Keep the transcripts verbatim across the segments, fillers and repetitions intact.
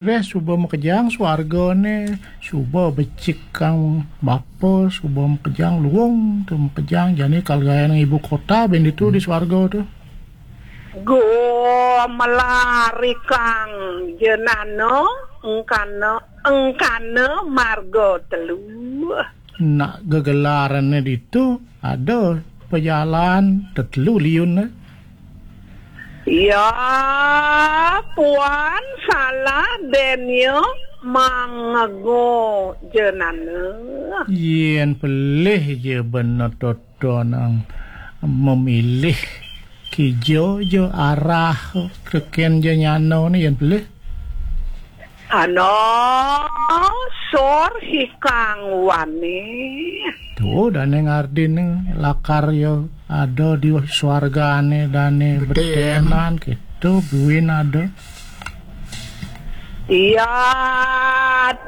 Wéh, suba makejang suargané, suba becik kang bapa, suba makejang luung tu makejang, jani kal gaénang ibu kota bén ditu di suarga tu. Go melari kang jenana, engkana, engkana marga telu. Nak gegelarané ditu ada pejalan tetelu liunné. Ya, puan salah dén ya mangego jenana. Yén pelih ja bena totonang memilih kija ja arah tekén jenana né yén pelih. Ana sor hikang wani. Tuh, dané ngardin lakar ya ada di suargané dané beténan. Beténan, kéto buin ada. Iya,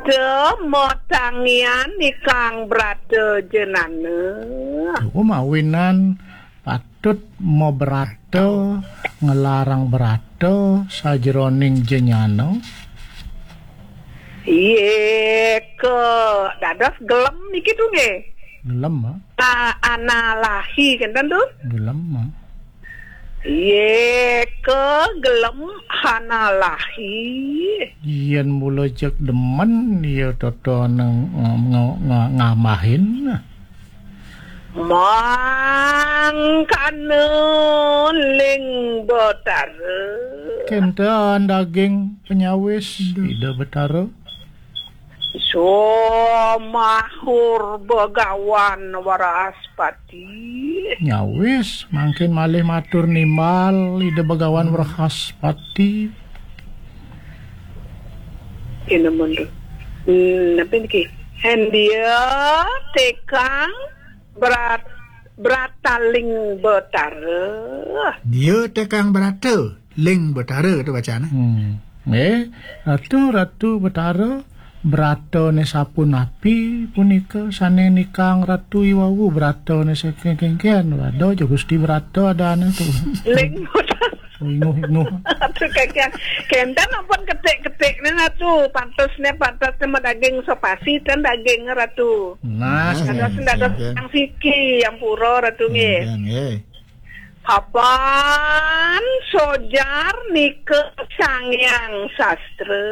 te matangian ikang brata jenana. Tuh, mawinan patut mabrata, ngelarang brata sajeroning jenana. Iya, ke dados gelem niki tuh nggih. Gelem, ah. Ah, analahi kenten tuh. Gelem, ah. Iya, ke gelem analahi. Yén mula jeg demen ya totonang ng-, ng-, ng-, ngamahin. Mangkana ling Betara. Kenten daging panyawis Ida Betara. Somahur Begawan Wrahaspati. Nyawis, mangkin malih matur nimbal Ida Begawan Wrahaspati. Ini mundur. Hmm, apa niki? Hendia tekang berat, berataling betara. Dia tekang berata, ling betara tu bacaan, eh. Hmm. Eh, Ratu, Ratu Betara, beratané sapunapi punika sané nikang Ratu iwawu, beratané saking kéngkén, ada ja Gusti Berata adané tu. Ling betara. Inguh-inguh. Ratu Kakian. Kenten ampun ketik-ketik nih Ratu. Pantes nih, pantes nih daging sopasi dan daging Ratu. Nah, nah, sing, dados, sing, dados sing, yang siki, yang pura Ratu nggih. Sing, nggih. Papan sojar nika Sang Hyang Sastra.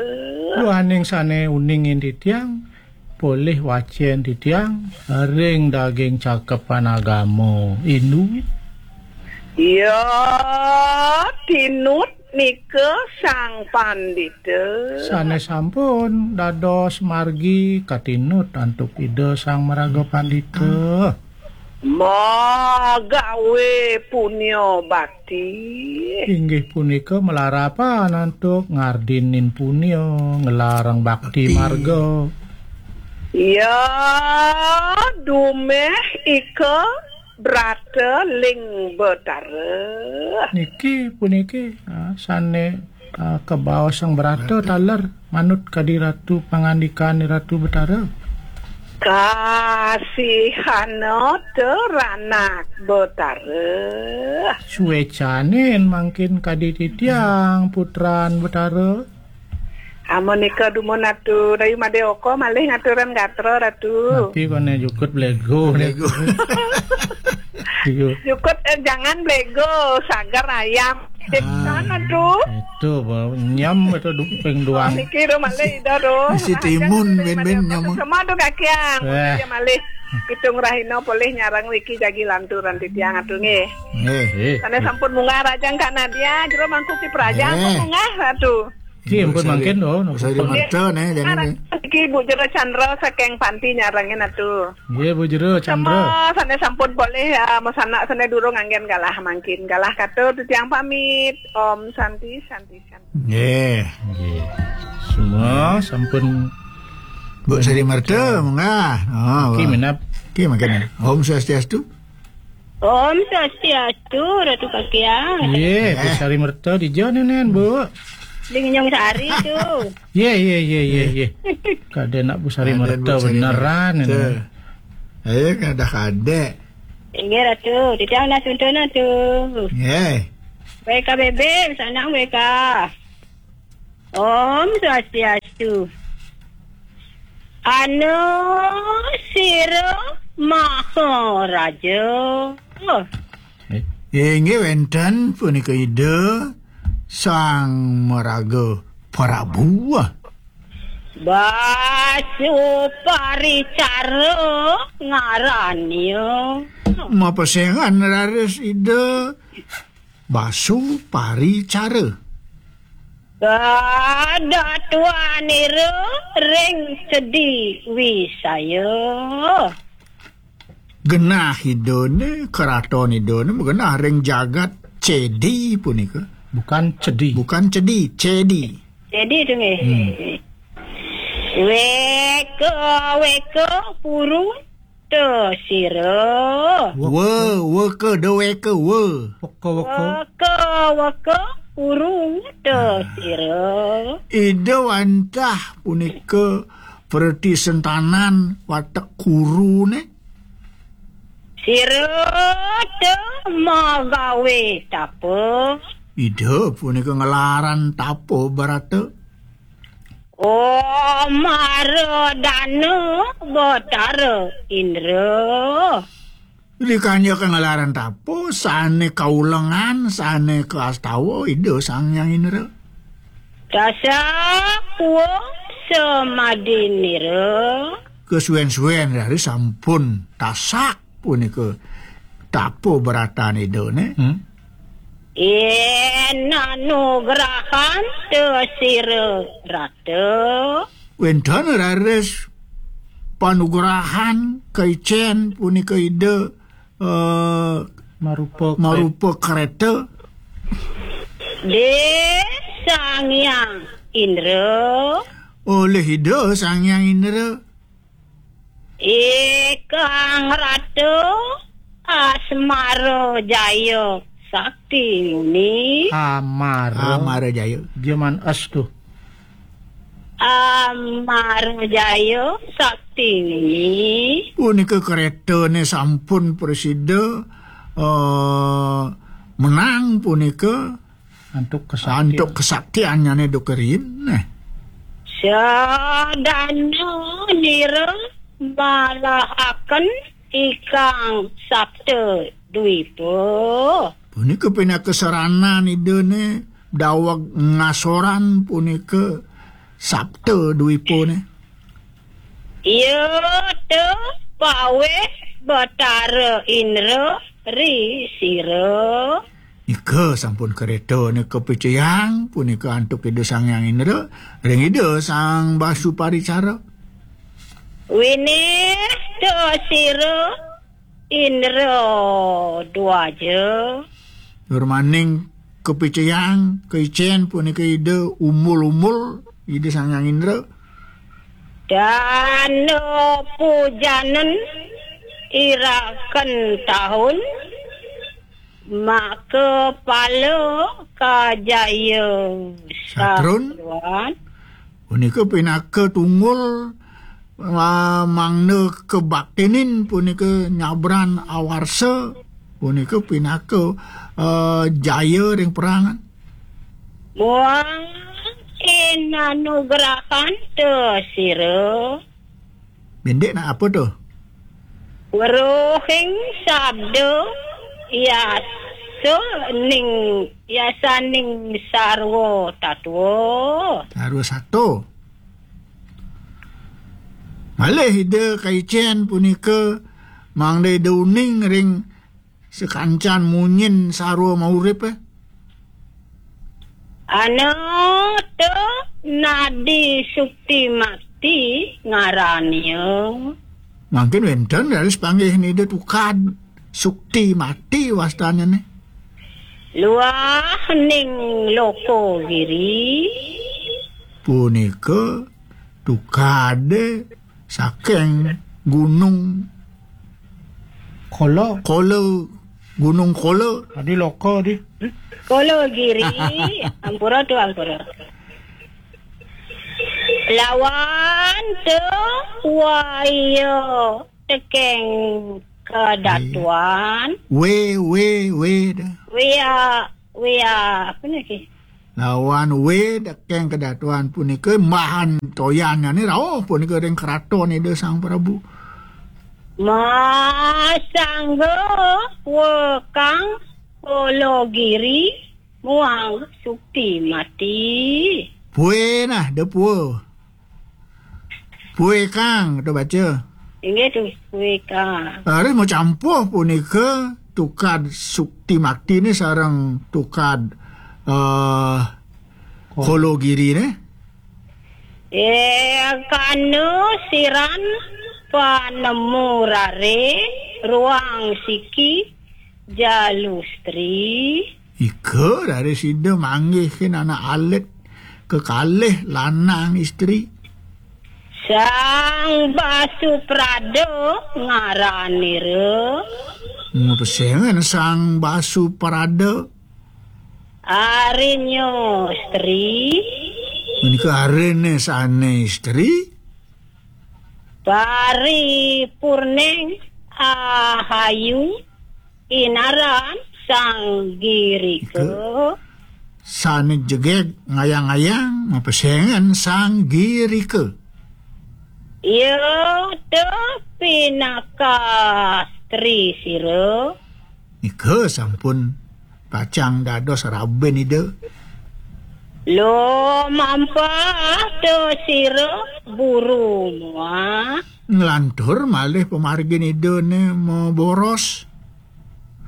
Duaning sané uning ing titiang, polih wacén titiang, ring daging cakepan agama Hindu. Iya, tinut nika Sang Pandita. Sané sampun dados margi katinut antuk Ida Sang Maraga Pandita. Magawé punya bakti. Inggih punika malarapan antuk ngardinin punya, ngelarang bakti. Bakti. Marga. Ya, dumeh ika brata ling betara. Niki puniki, ah, sané, ah, kabaos Sang Brata taler manut kadi Ratu pangandikan Ratu Betara. Kasihana teranak betara. Suécanin mangkin kadi titiang putran Betara. Amunika dumun Ratu, dayu madé oko malih ngaturan gatra Ratu. Napi koné jukut blégo. Blégo. Iya. Jukut, eh, jangan blégo, sagar ayam. Ah. Sana tuh. Itu, Bang. Nyam itu du-, ping duang. Oh, niki ro malih Ida ro. Isi timun, jangan ben-ben malih. Nyam. Semua tuh kakian. Wah. Iya malih. Pitung rahina polih nyarang niki jagi lanturan titiang atuh nggih. Nggih. Nggih. Sané sampun munggah rajang Kak Nadia, jero mangku ki praja. Nggih. Sampun munggah Ratu. Nggih, ampun mangkin, oh, Bu Sari Merta, nih, jani, nih. Niki Bu Jero Chandra saking Panti nyarengin atuh. Nggih, Bu Jero Chandra. Sama sané sampun polih, ya, masanak sané durung anggén galah mangkin. Galah katur titiang pamit. Om Santi, Santi, Santi. Nggih. Nggih. Semua sampun. Bu Sari Merta, munggah. Oh, niki wah. Minab. Niki mangkin. Om Swastiastu. Om Swastiastu, Ratu Kakiang. Yé, Bu Sari Merta dija nénén, Bu. Di Ngenyong Sari tu. Yé, yé, yé, yé, yé. Kadén nak Bu Sari Merta Bu Sari beneran Merta. Nénén. Ayo, kada-kada. Inggih, Ratu. Titiang nak tuntun tu. Nggih. W K B B, sanang W K. Om Swastiastu. Anu sira Maharaja. Inggih wenten punika Ida Sang Maraga Prabu. Basu paricara ngarannya. Mapesengan raris Ida Basu paricara. Kadatuanira ring Cedi Wisaya. Genah Idane, keraton Idane magenah ring jagat Cedi punika. Bukan Cedi. Bukan Cedi, Cedi. Cedi tu nggih. Hmm. Weka, weka, puru, te sira. We, weka, de weka, we. Weka, weka. Weka, weka, puru, te sira. Ida wantah punika pratisentanan watek kurune. Sira te magawe tapa. Ida punika ngelaran tapa brata. O Maradana Batara Indra. Dikanjaka ngelaran tapa, sane kaulengan, sane kastawa, Ida Sang Hyang Indra. Tasak wong samadinira. Kesuwen-suwen raris sampun tasak punika tapa bratan Idane. Hmm. Yen anugrahan te sira rata. Wenten raris panugrahan kaicen punika Ida, eh, Marupa marupa kereta. De Sang Hyang Indra. Oleh Ida Sang Hyang Indra. Ikang Ratu Asmara Jaya Sakti Muni. Amara. Amara Jaya. Jaman es tuh. Amara Jaya Sakti Muni. Punika keretane sampun prasida, eh, menang punika. Antuk kesaktian. Antuk kesaktiannyane duka riin, neh. Sadana nira malahaken ikang Sapta Dwipa. Punika pinaka saranan Idane daweg ngasoran punika Sapta Dwipane. Iya te paweh Batara Indra ri sira. Nika sampun kereta nika picayang punika antuk Ida Sang Hyang Indra ring Ida Sang Basuparicara. Winih te sira Indra Dwaja. Nurmaning kapicayang, kaicen punika Ida umul-umul, Ida Sang Hyang Indra. Dana pujanen iraken tahun, maka pala kajaya satruan. Punika pinaka tunggul, ah, mangda kabaktinin punika nyabran awarsa, punika pinaka, ah, jaya ring perangan. Muang inanugrahan te sira. Bendik nak apa tu? Weruhing sabda yasa ning, yasaning sarwa tatwa. Sarwa sato. Malih Ida kaicen punika mangda Ida uning ring sakancan munyin sarwa mauripe. Ana te Nadi Sukti Mati ngarannya. Mangkin wenten raris panggih Ida tukad Sukti Mati wastanane. Luah ning Loko Giri. Punika tukade saking Gunung Kala. Kala, Gunung Kala. Tadi Loko di. Kala Giri, ampura tu, ampura. Lawan tu waya tekeng kadatuan. We, we, we dah. Wea, wea, apa ni? Lawan wé tekeng kadatuan punika mbahan toyannyane rauh punika ring kraton Ida Sang Prabu. Masangga wekang Kologiri muang Sukti Mati. Pue nah, de pue. Pue kang, kita baca. Inggih tu, pue kang. Harus mau campuh punika tukad Sukti Mati ni sareng tukad eh, Kologiri ni. Eh, kanu siran panemu rare ruang siki jalustri. Ika dari sida manggihin anak alit kekalih lanang istri. Sang Basu Prada ngaranira. Pesengan Sang Basu Prada. Arinyo istri. Menika arine sane istri. Paripurneng ahayu inaran Sang Girika. Sane jegeg ngayang-ngayang mapesengan Sang Girika. Iya te pinaka stri sira. Nika sampun pacang dados raben Ida. Lo mampah to sira buru muah. Nglantur malih pamargin Ida ne maboros.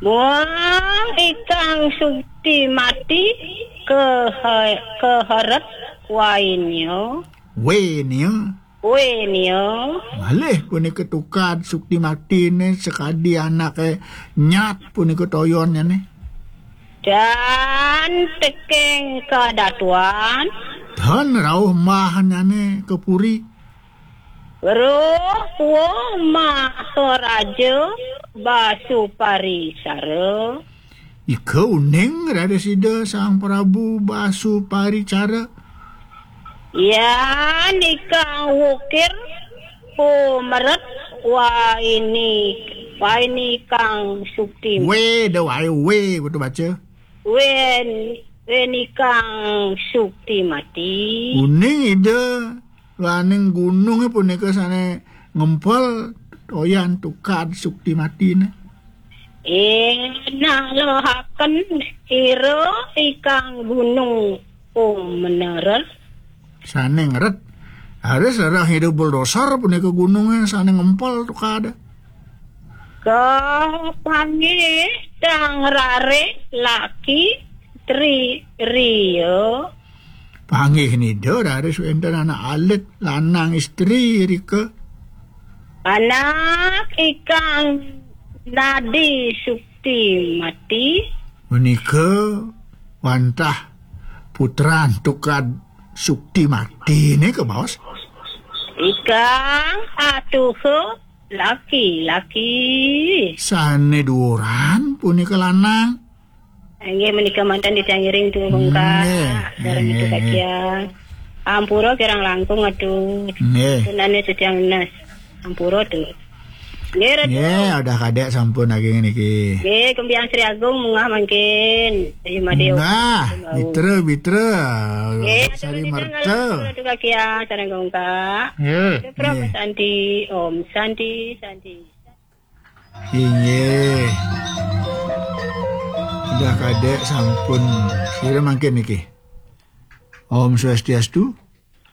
Muang ikang Sukti Mati kehe-, keheret wainnya. Wenya. Wenya. Malih punika tukad Sukti Mati ne sakadi anake nyat punika toyonnya ne. Dan tekeng kadatuan. Dan rauh mahanyane ke puri. Roh Maharaja Basuparisara. Ika uning rada sida Sang Prabu Basuparicara. Yan ikang wukir pumeret waini, waini kang sukti. We, da wae we, betul baca. Wen, wen ikang sukti mati. Uning Ida laning gununge punika sane ngempel toyan tukad sukti matine. Eh, nah, lehaken ira ikang gunung pumenerer. Sane ngeret. Harus lerah Ida buldosar punika gununge sane ngempel tukad. Kapanggih tang rare laki tri ria. Panggih nida raris wenten anak alit lanang istri rika. Anak ikang nadi sukti mati. Menika wantah putran tukad sukti mati nika, Bos. Ikang atuha laki-laki. Sane duuran punika lanang. Inggih menika manten titiang ngiring tu bengkak. Nggih, sareng nggih, itu nggih. Kakian. Ampura kirang langkung atu. Nggih. Tunane titiang nes. Ampura tu. Nggih, Ratu. Nggih, udah kadek sampun lagi niki. Nggih, Kumpiang Sri Agung munggah mangkin. Ayu Made. Munggah, Mitra, Mitra. Nggih, sari merta. Ratu Kakian, sareng bengkak. Nggih. Om Santi, Om Santi, Santi. Inggih. Udah kadek sampun. Sira mangkin niki. Om Swastiastu.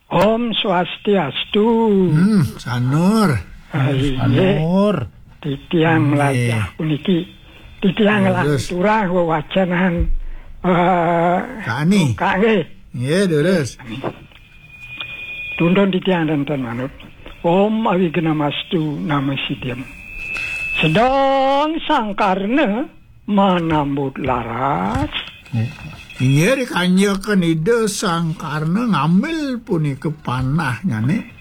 Om Swastiastu. Hmm, Sanur. Ah, inggih. Sanur. Titiang nggih. Lajah puniki. Titiang ya, terus. Lanturah wewacenan, eh, Kak Ani. Kak nggih. Nggih, terus. Tuntun titiang danten manut. Om Awignamastu Namo Siddham. Sedang Sang Karna manambut laras. Inggih dikanjeken Ida Sang Karna ngambil punika panahnyane.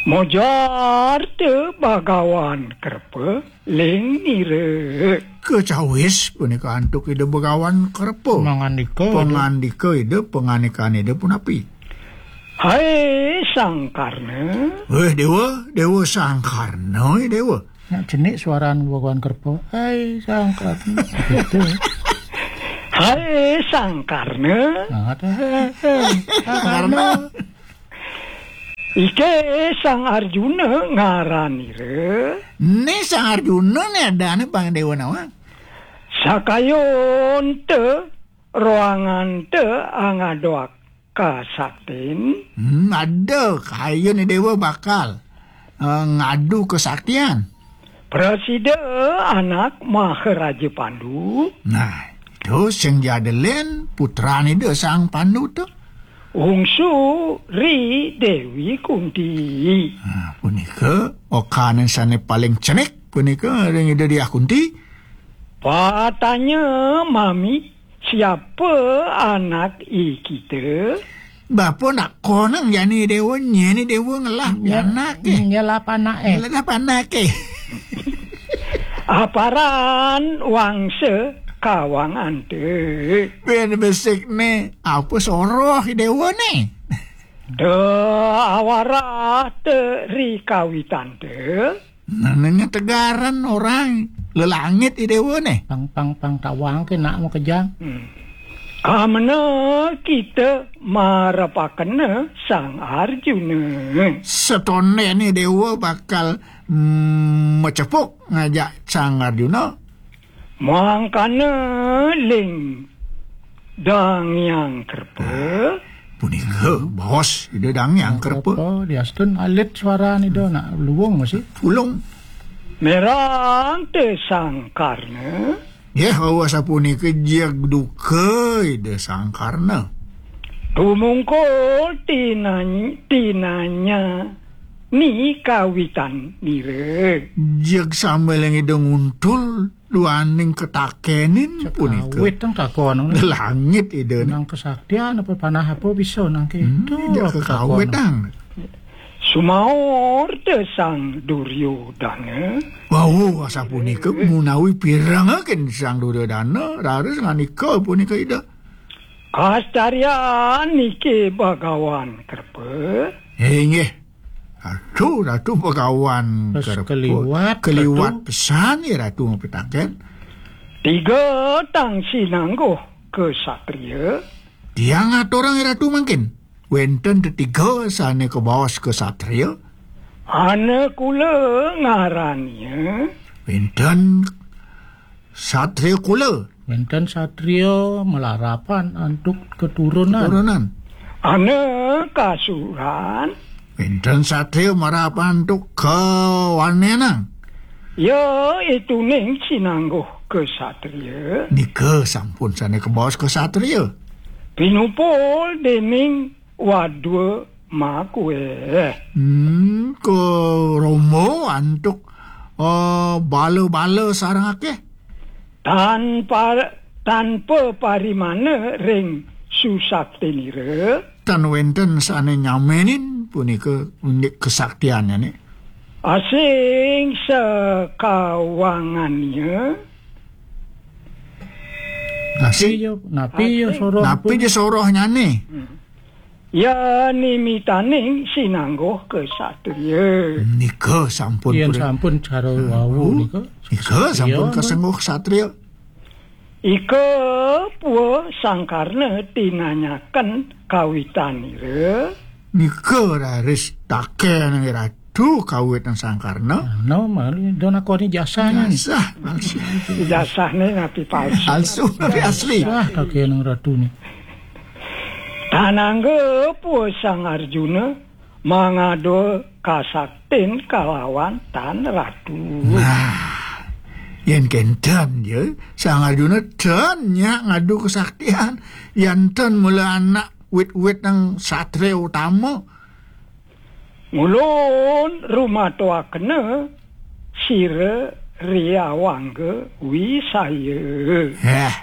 Mojar te Bagawan Kerpa ling nira. Kecawis punika antuk Ida Begawan Kerpa. Mangandika Ida. Pangandika Ida, pangandikan Ida punapi? Hai Sang Karna. Weh, Dewa, Dewa Sang Karna, eh, Dewa. Nak jenik suaran Begawan Kerpa. Hai Sang Karna. Gitu. Hai Sang Karna. Ah, teh, eh, eh, Sang Karna. Ike Sang Arjuna ngaranira. Né Sang Arjuna né adané pang déwa nawang. Sakayonta roanganta angadoak kasaktin. Hmm, ada kayun déwa bakal, eh, ngadu kesaktian. Prasida anak Maharaja Pandu. Nah, itu sing jadelin putrane Ida Sang Pandu to. Ungsu ri Déwi Kunti. Nah, punika okanan sane paling cenik punika ring Ida Diah Kunti. Patanya mami, siapa anak i kita? Bapa nak konang jani déwa, nyeni déwa ngelah. Ya, anake. Ngelah anake. Ngelah anake. Aparan wangsa kawanganta. Pin besik né, apa soroh déwa né? Da awarah te ri kawitanta. Nah, nanya tegaran orang lelangit i déwa né. Pang, pang, pang tawang ke nak makejang. Hmm. Amena kita marepakena Sang Arjuna. Setone né déwa bakal, mm, macepuk ngajak Sang Arjuna. Mangkana ling Dang Hyang Kerpa. Punika baos Ida Dang Hyang Kerpa. Kerpa, diastun alit suarane Ida nak luwung masih. Pulung. Merang te Sang Karna. Nggih, wau sapunika jeg duka Ida Sang Karna. Tumungkul tinany-, tinanya ni kawitan nira. Jeg sambeling Ida nguntul duaning ketakenin punika. Sekawit tang takon. Langit Ida. Nang kesaktian apa panah apa bisa nang Hmm, kéto jeg apa kekawit takon. Tang. Sumaur te Sang Duryodana. Wau sapunika munawi pirengaken Sang Duryodana, raris ngandika punika Ida. Kastaryan niki Bagawan Kerpa. Inggih. Ratu, Ratu Bagawan Kerpa. Keliwat, keliwat Ratu. Pesan ya Ratu mapitaken. Tiga tang sinangguh kesatria. Tiang aturang ya Ratu mangkin. Wénten tetiga sané kabaos kesatria. Anakula ngarannya. Wénten satria kula. Wénten satria malarapan antuk keturunan. Keturunan. Anakasuran. Wénten satria malarapan antuk kawanenan. Ya, ituning sinangguh kesatria. Nika sampun sané kabaos kesatria. Pinupul dening wadwa makué. Hmm, karombo antuk, eh, bala-bala sareng akéh. Tanpa, tanpa parimana ring susaktinira. Tan wénten sané nyamenin punika indik kesaktiannya né. Asing sakawangannya. Asing. Napi ya, napi ya soroh. Napi ya sorohnyané. Hmm. Ya nimitaning sinangguh kesatria. Nika sampun. Yén pura- sampun cara wau nika. Nika sampun kesengguh kesatria. Ika pua Sang Karna tinanyaken kawitanira. Nika raris taken Ratu kawitan Sang Karna. No, malu do nakoni jasanya. Jasah, palsu. Jasahne napi palsu. Palsu, napi asli. Sah taken Ratu ni. Tanangga pua Sang Arjuna mangada kasaktin kalawan tan Ratu. Nah, yén kénten ya, Sang Arjuna ten nyak ngadu kesaktian, yén ten mula anak wit-wit nang satria utama. Ngulun rumatoakena sira riawangga wisaya. Heh,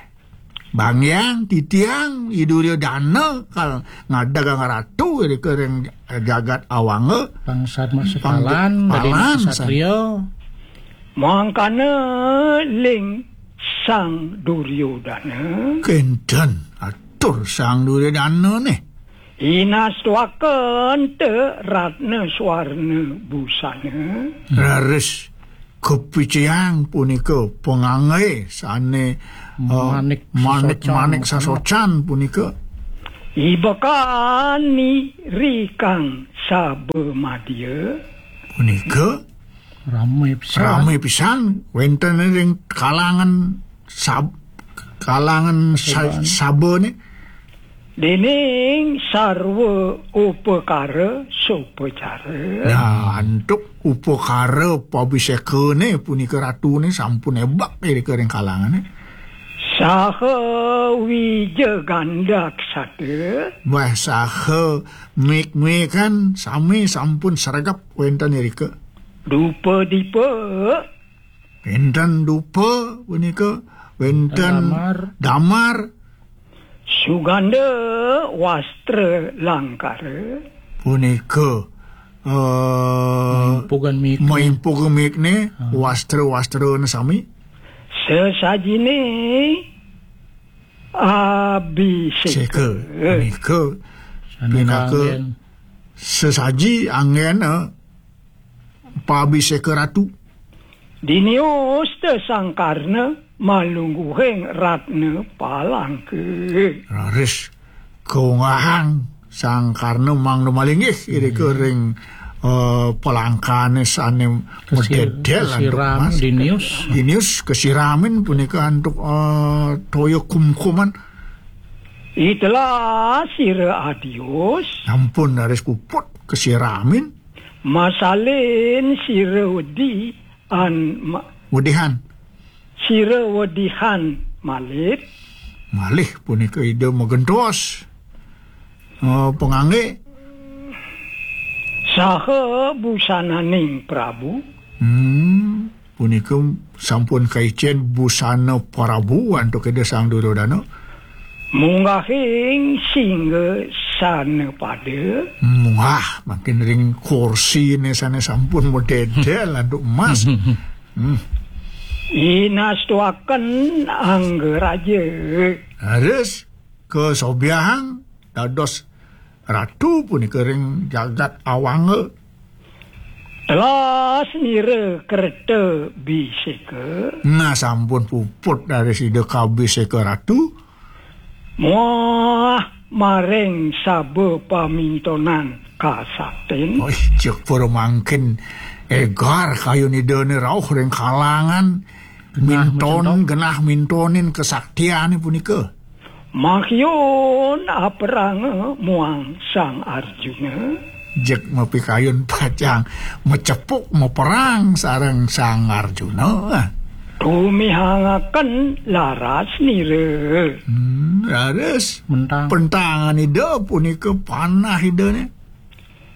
Bang Hyang, titiang, I Duryodana, kal ngadegang ratu, ring jagat awanga. Bangsat masih palan, palan, dadi satria. Mangkana ling Sang Duryodana. Kénten, atur Sang Duryodana nih. Inastuaken te ratna swarna busana. Raris Kapicayang punika pangangge sane, eh, Manik manik, sasocan. Manik sasocan punika. Ibekan nirikang sabamadya. Punika Rame pisan. Rame pisan wenten ring kalangan sab-, kalangan sa-, sabane. Dening sarwa upakara sopacara. Nah, antuk upakara pabisekane punika ratune sampun ebak irika ring kalangane. Saha wija gandaksada. Wah, saha mik-mikan sami sampun sregep wenten irika. Dupa dipa. Wenten dupa punika, wenten damar. Damar. Suganda wastra langkara. Punika, eh, maimpugan mik-, maimpugan mikne, wastra-wastrane sami. Sesajine abiseka. Seka. Punika sane pinaka kanggen. Sesaji anggena pabiseka ratu. Dinius te Sang Karna malungguhing ratna palangka. Raris kaunggahang Sang Karna mangda malinggih irika ring, eh, palangkane sane mededel antuk kasiram, mas. Dinius. Dinius kasiramin punika antuk, eh, toya kumkuman. Itelah sira adius. Ampun, raris puput kasiramin. Masalin sira wedi an ma-, Wedihan. Sira wedihan malit. Malih punika Ida magentos, eh, pangangge. Saha busananing Prabu. Hmm. Punika sampun kaicen busana Prabu antuk Ida Sang Duryodana. Munggahing singgasana pada. Munggah mangkin ring kursine sane sampun mededel antuk emas. Hmm. Inastuaken anggaraja. Harus kasobiahang dados ratu punika ring jagat Awangga. Telas nira kerta biseka. Nah, sampun puput dari sida kabiseka ratu. Muah maring saba pamintonan kasaktin. Oh, cek para mangkin egar kayun Idane rauh ring kalangan genah minton, genah mintonin kesaktiane punika. Makyun aperanga muang Sang Arjuna. Jeg mapikayun pacang macepuk maperang sareng Sang Arjuna. Tumihangaken laras nira. Hmm, raris. Mentang. Pentangan Ida punika panah Idane.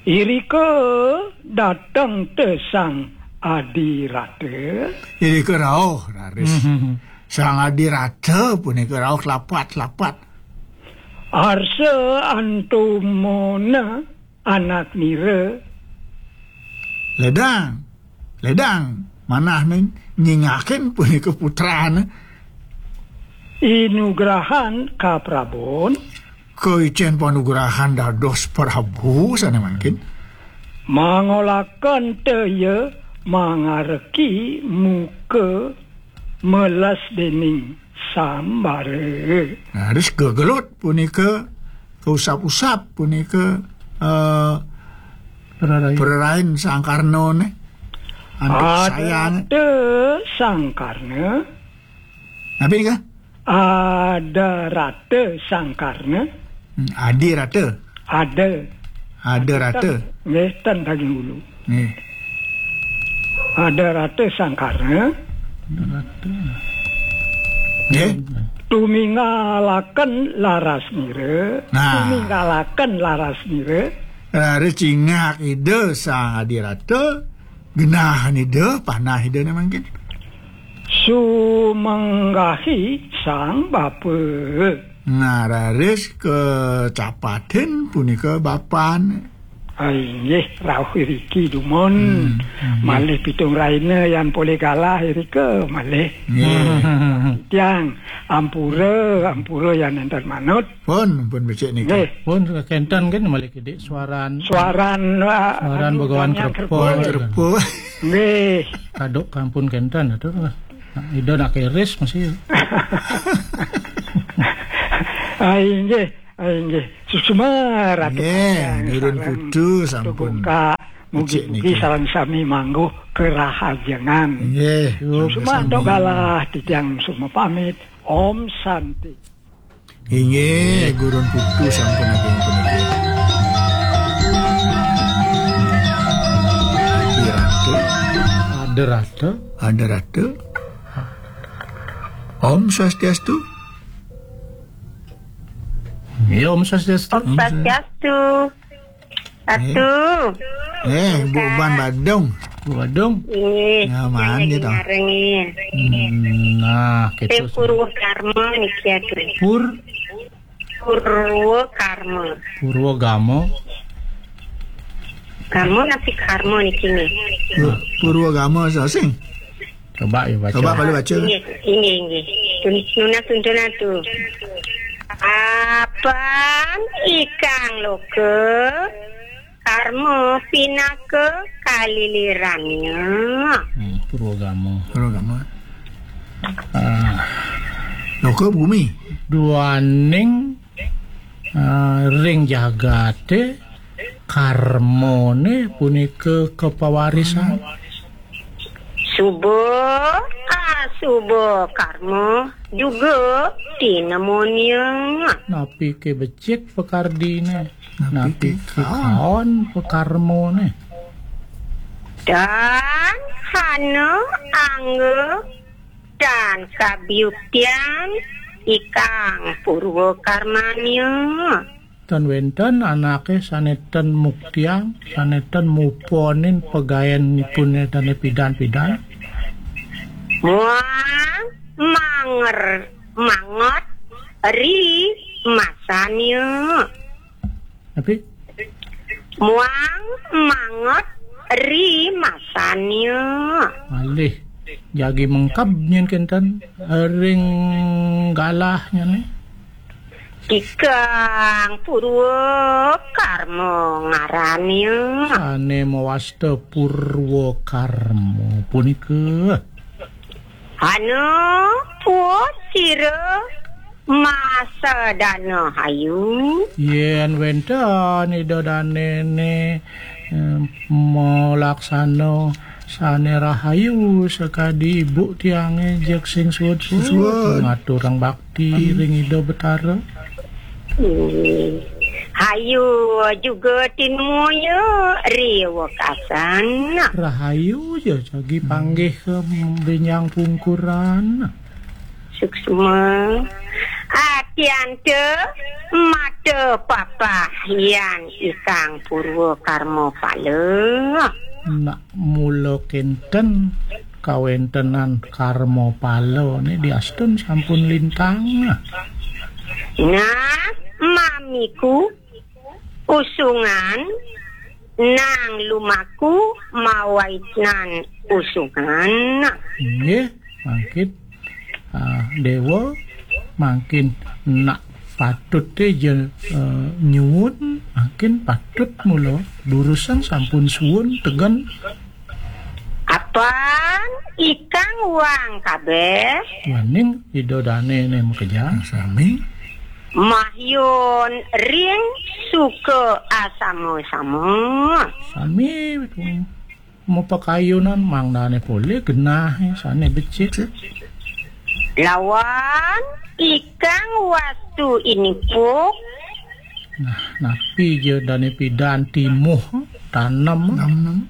Irika dateng te Sang Adirata. Irika rauh, raris. Mhm. Sang Adirata punika rauh lapat-lapat. Arsa antumana anak nira. Ledang, ledang, manahne nyingakin punika putrane. Inugrahan kaprabon. Kaicen panugrahan dados Prabu sane mangkin. Mangolaken te ya mangareki muka meles dening sambare. Nah, terus gegelut punika, kausap-usap punika, eh, Prarain. Prarain Sang Karnane. Antuk sayang. Ada Sang Karna. Napi nika? Ada rata Sang Karna. Hmm, adi rata. Ada. Ada rata. Nggih, ten daging ulu. Nggih. Ada rata Sang Karna. Ada rata. Nggih. Tuminggalaken laras nira. Nah. Tuminggalaken laras nira. Raris cingak Ida Sang Adirata, genah Ida, panah Idane mangkin. Sumenggahi Sang Bapa. Nah, raris kacapatin punika bapan. Ah, inggih, rauh iriki dumun. Hmm, inggih. Malih pitung rahina yan polih galah irika malih. Nggih. Tiang ampura, ampura yan nenten manut. Pun, pun becik niki. Nggih. Pun kenten kan malih kidik suaran. Suaran, ah, Suaran anu, Begawan Damian Krepul. Krepul. Begawan Krepul. Nggih. Kaduk kampun kenten tu. Ida nak keris masih. Ah, inggih. Ah, inggih. Suksma Ratu Nggih, Kacang Gurun sareng Putu Ratu sampun Bungka. Mugi-mugi becik niki. Sareng sami mangguh kerahajengan. Nggih, Suksma sami-sami. Antuk galah titiang suksma pamit. Om Santi. Inggih, Gurun Putu sampun ageng puniki. Ratu. Ada Ratu. Ada Ratu. Om Swastiastu. Ya, Om Swastiastu. Om Swastiastu. Atu. Eh, Bu Ban Badung. Bu Badung. Nggih. Ya, mandi to. Ngareng. Hmm, nah, kita Purwa Karma niki atu. Pur Purwa Karma. Purwa Gama. Gama napi Karma niki nggih? Pur- Purwa Gama sasing. Coba ya baca. Coba balik baca. Inggih, inggih, inggih. Tun- nunas tuntunan tu. Apan ikang loka karma pinaka kalilirannya. Hmm, Purwagama. Purwagama. Ah. Loka bumi. Duaning, ah, ring jagate karmane punika kapawarisan. Suba, asuba karma juga tinemunya. Napi ke becik pakardine? Napi ke kaon pakarmane? Dan hana angga dan kabiuktian ikang purwa karmanya. Tan wenten anake sane ten muktiang, sane ten muponin pegaenipune dane pidan-pidan. Muang manger mangot ri masanya. Tapi muang mangot ri masanya. Malih jagi mengkeb nyen kenten ring galahnya ne. Ikang Purwa Karma ngarannya. Sane mawasta Purwa Karma punika. Anu puas sira masa dana hayu. Yen wenten ida danene, eh, malaksana sane rahayu sakadi ibu tiange jeg sing suud-suud ngaturang bakti ring Ida Betara. Hmm. Hayu juga tinuya ri wekasan. Rahayu ja jagi panggih ke benjang pungkuran. Suksma. Atianta mata papah yan ikang purwa karma pala. Nak mula kenten kawentenan karma pala ne diastun sampun lintang. Nah, mamiku usungan nang lumaku mawaitnan usungan. Nggih, mangkin, ah, Dewa, mangkin nak patut te je, eh, nyuwun, mangkin patut mula durusan sampun suwun tegen. Apan ikang wang kabeh. Waning Ida Dane ne makejang. Sami. Mahyun ring suka asama-sama. Sami tu. Mapakayunan mangdane polih genah, eh, sane becik. Lawan ikang wastu inipuk. Nah, napi ja dane pidan timuh, tanem. Tanem.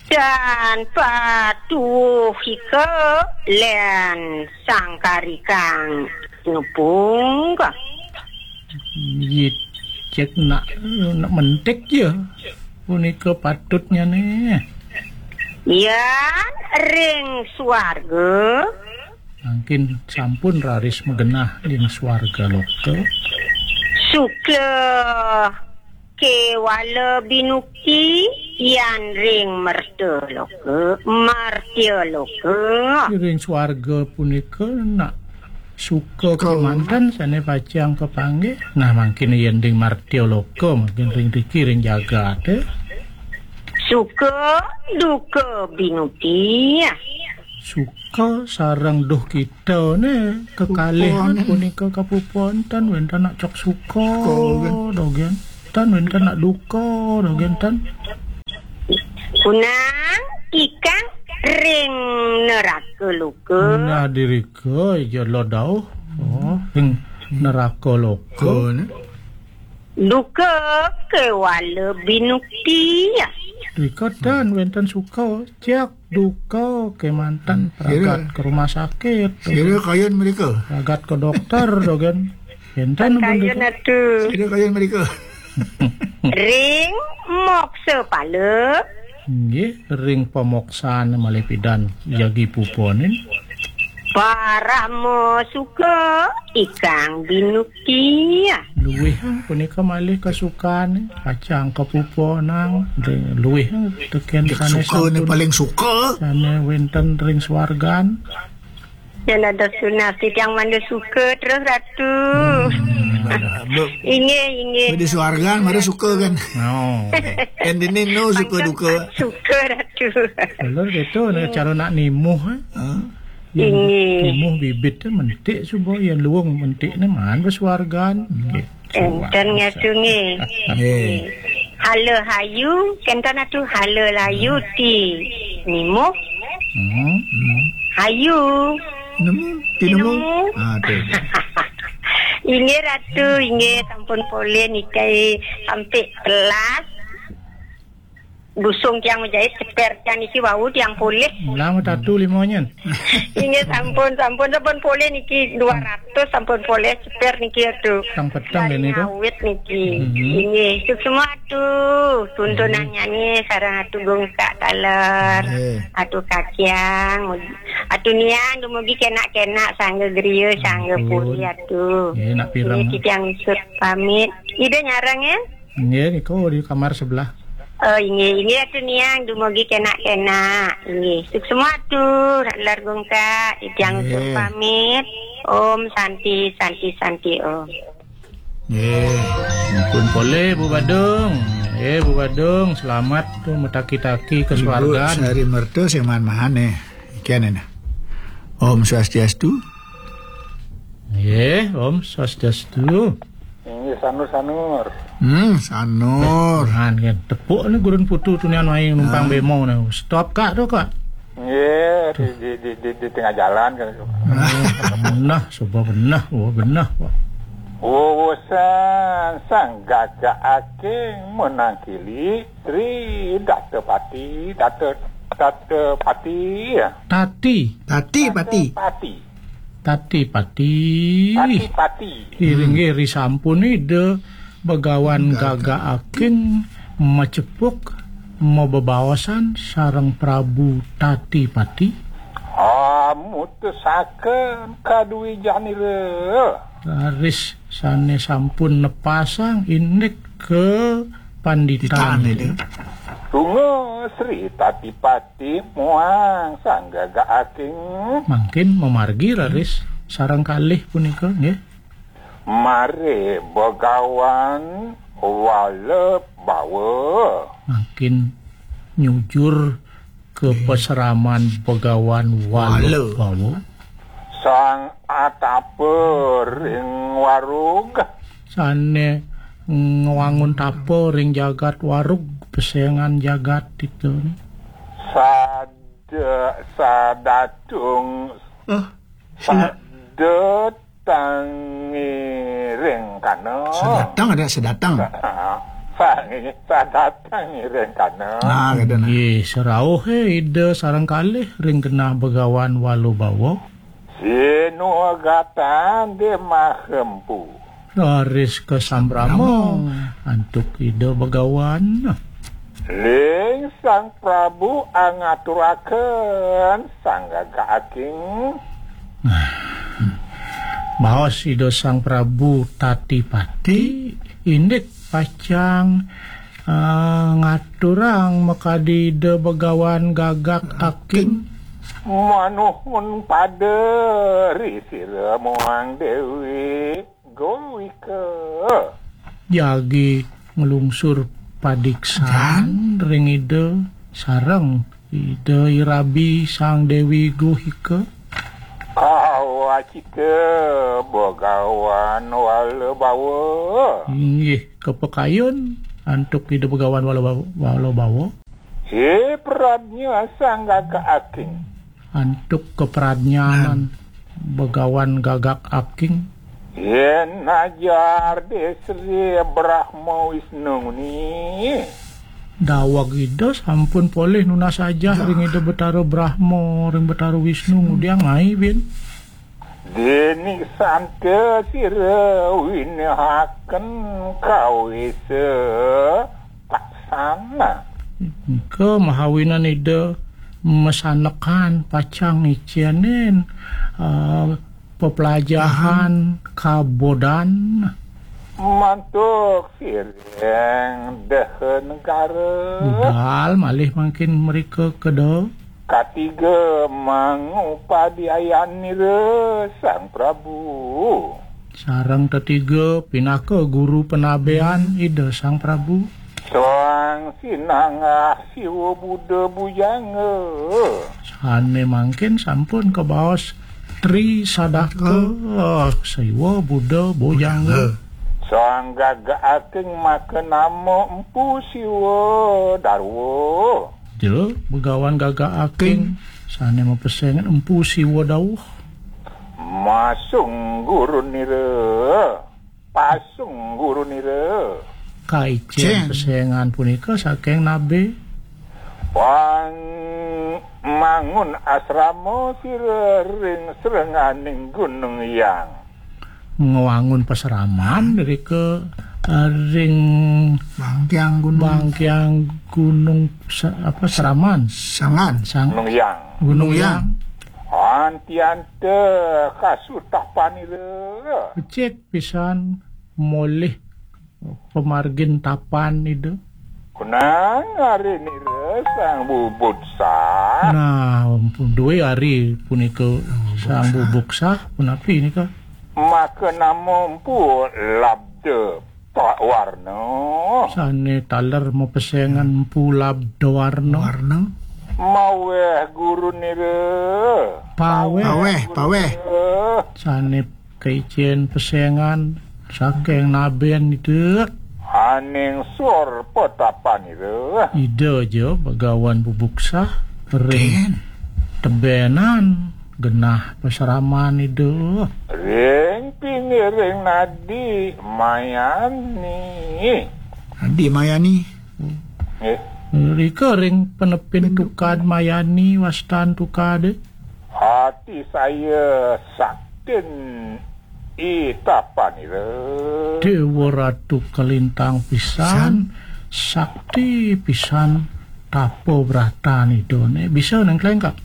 Dan patuhika len sangkarikang nupung. Inggih, cek nak, nak mentik ya. Punika patutnya ne. Yan ring swarga. Mangkin sampun raris magenah ring swarga loka. Sukla Kewala binukti yan ring merta loka, martya loka. Ring swarga punika nak suka kemanten sane pacang kapanggih. Nah, mangkin yen ring martya loka, mangkin ring riki ring jagate. Suka duka binukti. Suka sareng duh kita ne kekalih punika kapuponten wenten nak cok suka. Suka, kan? Dogen. Tan wenten nak duka, dogen tan. Kunang ikang ring neraka luka. Nah, dirika ija lo dauh. Oh, ring neraka loka. Ko, ne? Duka kewala binukti. Rika tan wenten suka, cek duka kemanten. Kira pragat ke rumah sakit. Kira kayun mereka. Pragat ke dokter, dogen. Enten kayun atu. Kira kayun mereka. Ring moksa pala. Nggih, ring pamoksane malih pidan jagi puponin. Parama suka ikang binukti. Luih punika malih kasukane, pacang kapuponang, ring luih teken sane suka ne sampun. Paling suka. Sane wenten ring swargan. Yen ada sunah titiang mangda suka terus, Ratu. Hmm, inggih, inggih. Di swargan mara suka kan? Oh. Yen dini nu suka duka. Suka, Ratu. Lur gitu, nah, cara nak nimuh, eh? Hah? Yen inggih. Nimuh bibit, eh, mentik suba, yen luung mentik ne man ba swargan. Nggih. Enten ngatu nggih. Nggih. Hala hayu, kenten atu hala layu ti nimuh. Hmm. Hayu. Nemu, ti nemu. Nemu. Ah, tu. Inggih Ratu, inggih sampun polih niki sampai telas. Dusung tiang majait ceper tiang niki wau tiang polih. Ulang tatu lima nyen. Inggih sampun, sampun, sampun polih niki dua ratus sampun polih ceper niki atu. Tang petang deh niku. Ngawit niki. Mhm. Inggih, suksma atu. Tuntunannya nih sareng atu gungsak taler. Nggih. Atu kaciang, atu niang dumugi kenak-kenak sangga griya, sangga puri atu. Nggih, nak pireng. Niki tiang usut pamit. Ida nyarang ya? Nggih, niku di kamar sebelah. Oh, inggih, inggih atu niang dumugi kenak-kenak. Inggih, suksma atu, lar gungka, titiang pamit. Om Santi, Santi, Santi, Om. Nggih. Ampun polih, Bu Badung. Eh, Bu Badung, selamat tu mataki-taki ke swargan. Ibu Sari Merta sing man-man eh. Ikan ini. Om Swastiastu. Nggih, Om Swastiastu. Inggih, sanur-sanur. Hmm, sanur. Nah, nggih, tepuk ni gurun putu tunian mai numpang bemo ni. Stop, Kak, tu, Kak. Nggih, di, di, di, di, di tengah jalan kan. Nah, suba benah, oh, benah, Pak. Urusan sang gagak aking menangkili Sri Datapati, Data, Datapati, ya. Tati. Tati Pati. Pati. Tati Pati. Tati Pati. Iring iri sampun Ida Begawan gagak aking macepuk mabebaosan sareng Prabu Tati Pati. Ah, mutusaken kaduijanira. Raris sane sampun nepasang indik ke panditan. Panditan itu. Tunga Sri Tatipati muang sang gagak aking. Mangkin mamargi raris sareng kalih punika, nggih. Mare Begawan Wala Bawa. Mangkin nyujur ke pasraman Begawan Wala Bawa. Sang atapa ring warug. Sane ngwangun tapa ring jagat warug, pesengan jagat itu. Sada, sadatung, oh, sada tangiring kana. Sadatang ada sadatang. Sangi, sadatang ngiring kana. Nah, kada nah. Nggih, serauh, eh, Ida sareng kalih ring genah Begawan Wala Bawa. Sinugatan di mahempu. Raris kasambrama antuk Ida Begawan. Ling Sang Prabu angaturaken sang gagak aking. Baos Ida Sang Prabu Tati Pati indik pacang, eh, ngaturang makadi Ida Begawan Gagak Aking. Manuhun pada ri sira muang Dewi Gohika. Jagi nglungsur padiksan ring Ida sareng Ida Irabi Sang Dewi Gohika. Kawacita Begawan Walabawa. Inggih, kapakayun antuk Ida Begawan Walabawa. Walabawa. He pradnya Sang Gagak Aking. Antuk kapradnyanan Begawan Gagak Aking. Yén najar Sri Brahma Wisnu ni. Daweg Ida sampun polih nunas ajah ring Ida Betara Brahma, ring Betara Wisnu, ngudiang mai, bin. Déning santa sira winahaken kawisa taksana. Engka mahawinan Ida masanekan pacang ngicénin, eh, peplajahan kabodan. Mantuk siring deha negara. Budal malih mangkin mrika keda. Katiga mangupadi ayanira Sang Prabu. Sareng tetiga pinaka guru panabéan Ida Sang Prabu. Sang Sinanggah Siwa Buddha Bujanga. Sané mangkin sampun kabaos Tri Sadaka Siwa Buddha Bujanga. Sang Gagak Aking makanama Empu Siwa Darwa. Jero Begawan Gagak Aking sané mapesengan Empu Siwa Dawuh. Masung gurunira. Pasung gurunira. Kaicén pesengan punika saking nabi. Pang mangun asrama sira ring srenganing Gunung Hyang. Ngwangun pasraman rika, eh, ring Bangkiang Gunung. Bangkiang Gunung sa-, apa, Seraman. Sangan. Sang-, Gunung Hyang. Gunung Hyang. Antianta kasutapanira. Becik pisan molih pamargin tapan Ida. Kunang ari nira Sang Bubuksa. Nah, duwe ari punika Sang Bubuksa, punapi nika? Maka nama Empu Labda Warna. Sane taler mapesengan Empu Labda Warna. Warna. Maweh guru nira. Paweh. Paweh, paweh. Sane kaicen pesengan saking naben Ida. Aning sur petapan Ida. Ida ja Bagawan Bubuksa ring tebenan genah pasraman Ida. Ring pingiring Nadi Mayani. Nadi Mayani. Nggih. Rika ring penepin tukad Mayani wastan tukade. Ati saya saktin i tapanira. Dewa Ratu kalintang pisan, sakti pisan tapa bratan Idane. Bisa nang klengkak.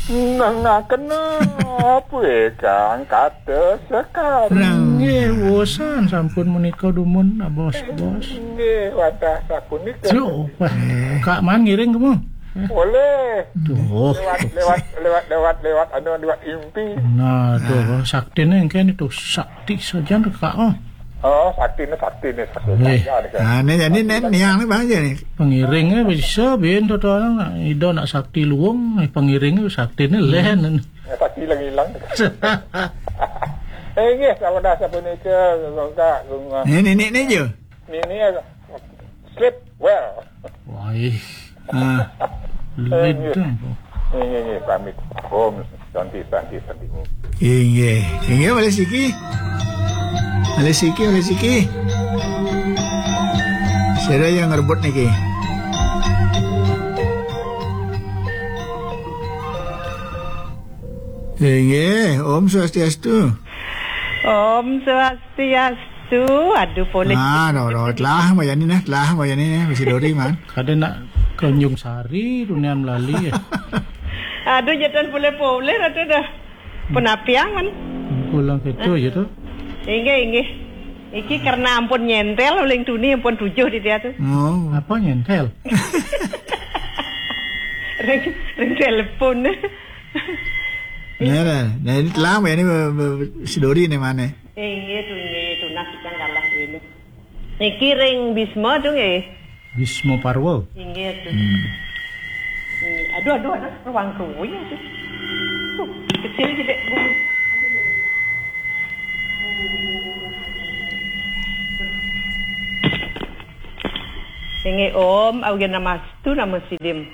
Nengakena apa kang kata sekarang. Nggih, wosan sampun menika dumun, bos-bos. Nggih, wadah sapunika. Yo, wah, Kak Man ngiring kamu. Boleh. Tuh. Lewat, lewat, lewat, lewat, lewat, anu, lewat impi. Nah, tuh, saktine engken itu sakti saja Kak. Oh. Oh, saktine, saktine, sakti saja nih, Kak. Nah, ini jadi nih, niang nih Bang aja nih. Pengiringnya bisa bin to orang nak Ida nak sakti luwung, pengiringnya saktine leh. Ya, sakti lagi hilang. Eh, nggih, sampun sapunika, Kak, Kak. Ini, ini, ini aja. Ini ya, sleep well. Wah. Ah. Ledang. Nggih, nggih, pamit. Om Santi, Santi, Santi. Inggih. Inggih, malih siki. Malih siki, malih siki. Sira yang ngerebut niki. Inggih, Om Swastiastu. Om Swastiastu. Aduh, poleh. Ah, no, no, telah Mayani nah, telah Mayani nah, bisi dori man. Kada nak Tanjung Sari, dunia melali ya. Aduh, jatan poleh-poleh ratu dah. Penapiang man. Pulang itu aja tuh. Inggih, inggih. Iki karena ampun nyentel, uling tuni ampun tujuh di dia tuh. Oh. Apa nyentel? Ring, ring telepon. Ya, nah, nah ini lama ya ini sidori nih mana? Inggih tuh, inggih tuh, nah kita kalah ini. Niki ring Bisma tuh nggih. Bisma Parwa. Inggih tuh. Hmm. Aduh, aduh, aduh, ruang kuwi aduh. Tuh, kecil gitu. Inggih Om, Augen Namastu, Nama Sidim.